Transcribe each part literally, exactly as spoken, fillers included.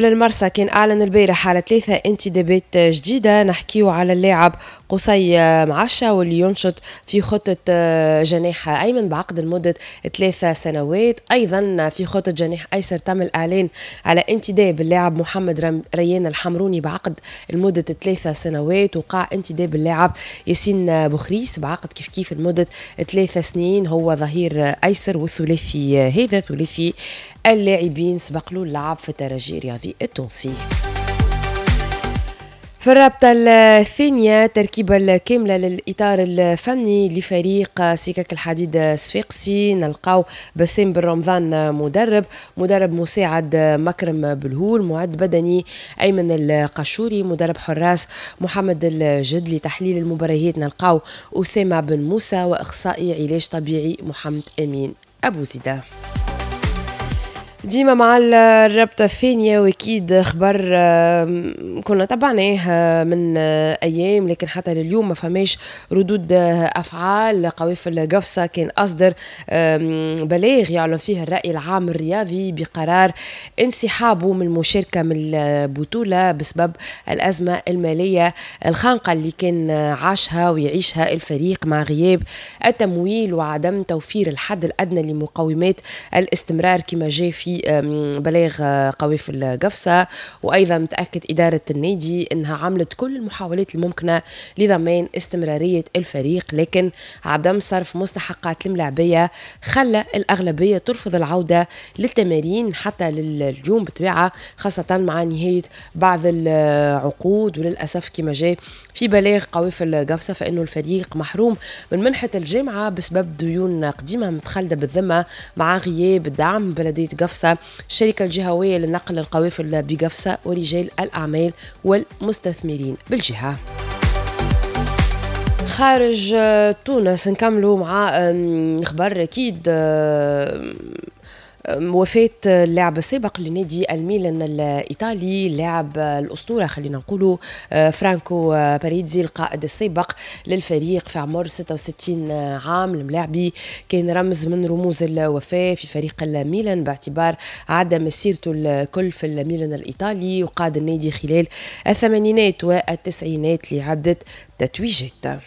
المرسى كان أعلن البارح على ثلاثة انتدابات جديدة. نحكيو على اللاعب قصي معشة واللي ينشط في خطة جناح أيمن بعقد لمدة ثلاثة سنوات. أيضا في خطة جناح أيسر تم الإعلان على انتداب اللاعب محمد ريان الحمروني بعقد لمدة ثلاثة سنوات، وقع انتداب اللاعب ياسين بوخريس بعقد كيف كيف لمدة ثلاثة سنين، هو ظهير أيسر. والثلاثي هذا ثلاثي اللاعبين سبق له اللعب في الترجي الرياضي التونسي. في الرابطة الثانية تركيبة الكاملة للإطار الفني لفريق سكك الحديد صفاقسي، نلقاو بسام بن رمضان مدرب، مدرب مساعد مكرم بالهول، معد بدني أيمن القشوري، مدرب حراس محمد الجد، لتحليل المباريات نلقاو أسامة بن موسى، وإخصائي علاج طبيعي محمد أمين أبو زيدة. ديما مع الرابطة الثانية، واكيد خبر كنا تبعناه من ايام لكن حتى لليوم ما فماش ردود افعال. قوافل قفصة كان اصدر بلاغ يعلن فيه الرأي العام الرياضي بقرار انسحابه من المشاركة من البطولة بسبب الأزمة المالية الخانقة اللي كان عاشها ويعيشها الفريق مع غياب التمويل وعدم توفير الحد الأدنى لمقومات الاستمرار كما جاء في بلاغ قوافل قفصة. وأيضا تأكد إدارة النادي أنها عملت كل المحاولات الممكنة لضمان استمرارية الفريق، لكن عدم صرف مستحقات الملاعبية خلى الأغلبية ترفض العودة للتمارين حتى لليوم بطبيعة، خاصة مع نهاية بعض العقود. وللأسف كما جاء في بلاغ قوافل قفصة فإنه الفريق محروم من منحة الجامعة بسبب ديون قديمة متخلدة بالذمة مع غياب الدعم بلدية قفصة، الشركة الجهوية لنقل القوافل بقفصة، ورجال الأعمال والمستثمرين بالجهة. خارج تونس نكملوا مع خبر أكيد وفاة اللاعب السابق لنادي الميلان الإيطالي، اللاعب الأسطورة خلينا نقولوا فرانكو باريزي، القائد السابق للفريق في عمر ستة وستين عام. الملاعبي كان رمز من رموز الوفاة في فريق الميلان باعتبار عدى مسيرته الكل في الميلان الإيطالي، وقاد النادي خلال الثمانينات والتسعينات لعدة تتويجات.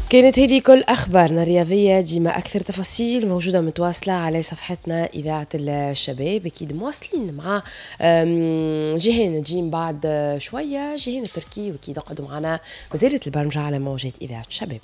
كانت هذه كل أخبارنا الرياضية. ديما أكثر تفاصيل موجودة متواصلة على صفحتنا إذاعة الشباب. أكيد مواصلين مع جيهان نجيم بعد شوية، جيهان التركي، وأكيد اقعدوا معنا وزيرة البرمجة على موجات إذاعة الشباب.